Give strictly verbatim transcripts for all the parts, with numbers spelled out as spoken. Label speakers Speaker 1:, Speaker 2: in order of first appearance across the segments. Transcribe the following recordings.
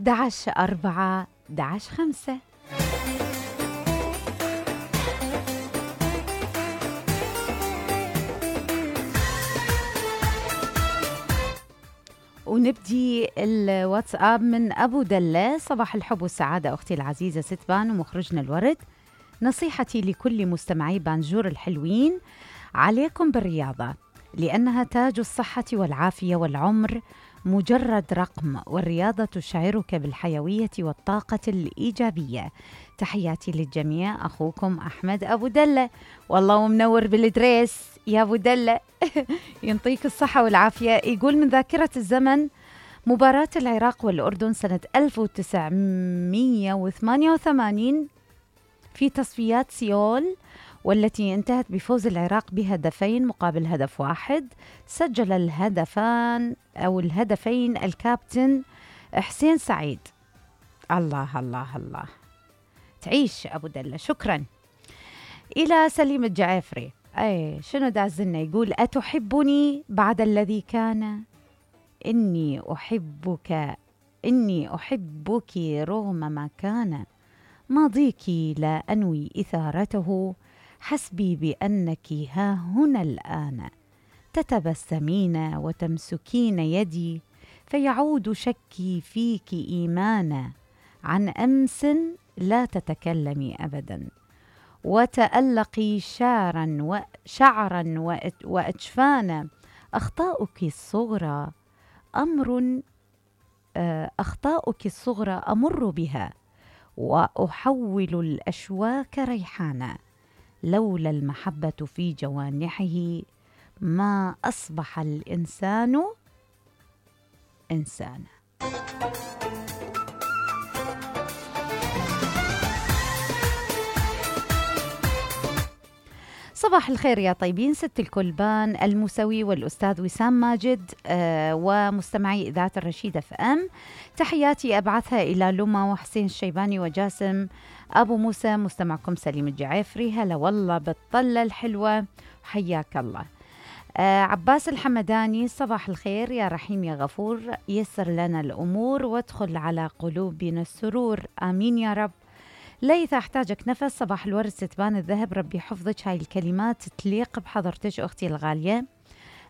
Speaker 1: احد عشر أربعة احد عشر خمسة. ونبدي الواتساب من أبو دلة. صباح الحب والسعادة أختي العزيزة ستبان ومخرجنا الورد. نصيحتي لكل مستمعي بانجور الحلوين: عليكم بالرياضة، لأنها تاج الصحة والعافية، والعمر مجرد رقم، والرياضة تشعرك بالحيوية والطاقة الإيجابية. تحياتي للجميع، أخوكم أحمد أبو دلة. والله منور بالدريس يا أبو دلة. ينطيك الصحة والعافية. يقول: من ذاكرة الزمن مباراة العراق والأردن سنة ألف وتسعمئة وثمانية وثمانين في تصفيات سيول، والتي انتهت بفوز العراق بهدفين مقابل هدف واحد. سجل الهدفان أو الهدفين الكابتن حسين سعيد. الله الله الله، تعيش أبو دلة. شكرا. إلى سليم الجعافري. أي شنو دازلنا؟ يقول: أتحبني بعد الذي كان؟ إني أحبك إني أحبك رغم ما كان. ماضيك لا أنوي إثارته، حسبي بأنك ها هنا الآن. تتبسمين وتمسكين يدي، فيعود شكي فيك إيمانا. عن أمس لا تتكلمي أبدا، وتألقي شعرا وشعرا وأجفانا. أخطاؤك الصغرى أمر أخطاؤك الصغرى أمر بها، وأحول الأشواك ريحانا. لولا المحبة في جوانحه ما أصبح الإنسان إنسانا. صباح الخير يا طيبين، ست الكلبان الموسوي والأستاذ وسام ماجد آه ومستمعي إذاعة الرشيد اف ام. تحياتي أبعثها إلى لما وحسين الشيباني وجاسم أبو موسى. مستمعكم سليم الجعافري. هلا والله بالطلة الحلوة، حياك الله. آه عباس الحمداني: صباح الخير يا رحيم يا غفور، يسر لنا الأمور وادخل على قلوبنا السرور، آمين يا رب. ليث: أحتاجك نفس. صباح الورد ستبان الذهب، ربي حفظك. هاي الكلمات تليق بحضرتك أختي الغالية.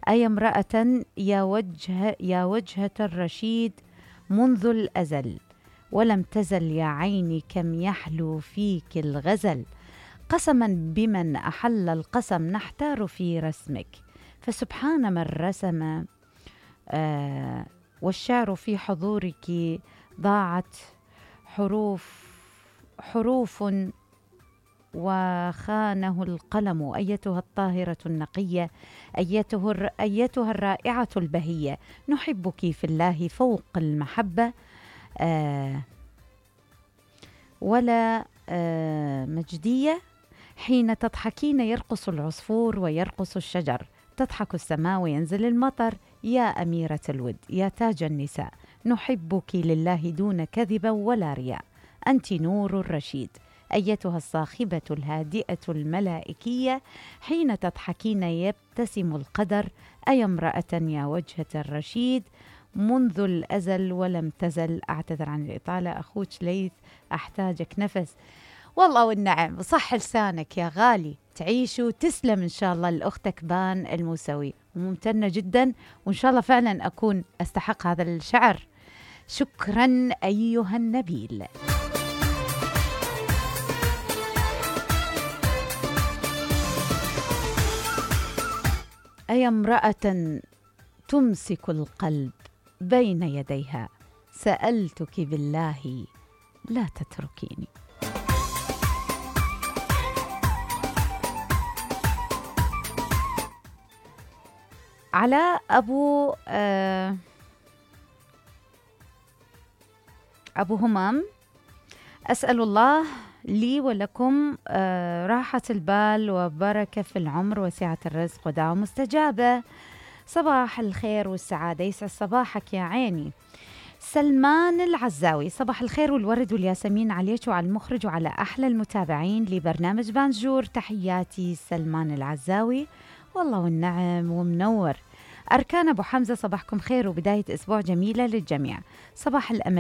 Speaker 1: أي امرأة يا وجه يا وجهة الرشيد منذ الأزل، ولم تزل يا عيني كم يحلو فيك الغزل. قسما بمن أحل القسم نحتار في رسمك، فسبحان من رسم. آه والشعر في حضورك ضاعت حروف حروف وخانه القلم. أيتها الطاهرة النقية، أيتها, أيتها الرائعة البهية، نحبك في الله فوق المحبة. آه ولا آه مجدية. حين تضحكين يرقص العصفور ويرقص الشجر، تضحك السماء وينزل المطر. يا أميرة الود، يا تاج النساء، نحبك لله دون كذب ولا رياء. أنت نور الرشيد، أيتها الصاخبة الهادئة الملائكية، حين تضحكين يبتسم القدر. أي امرأة يا وجهة الرشيد منذ الأزل ولم تزل. أعتذر عن الإطالة أخوك ليث، أحتاجك نفس. والله والنعم، صح لسانك يا غالي، تعيش وتسلم إن شاء الله لأختك بان الموسوي، وممتنة جدا، وإن شاء الله فعلا أكون أستحق هذا الشعر. شكرا أيها النبيل. أي امرأة تمسك القلب بين يديها، سألتك بالله لا تتركيني. علاء أبو آه أبو همام: أسأل الله لي ولكم آه راحة البال وبركة في العمر وسعة الرزق ودعوة مستجابة. صباح الخير والسعادة، يسعد صباحك يا عيني. سلمان العزاوي: صباح الخير والورد والياسمين عليك وعلى المخرج وعلى أحلى المتابعين لبرنامج بانجور. تحياتي سلمان العزاوي، والله والنعم ومنور. أركان أبو حمزة: صباحكم خير وبداية أسبوع جميلة للجميع. صباح الأمل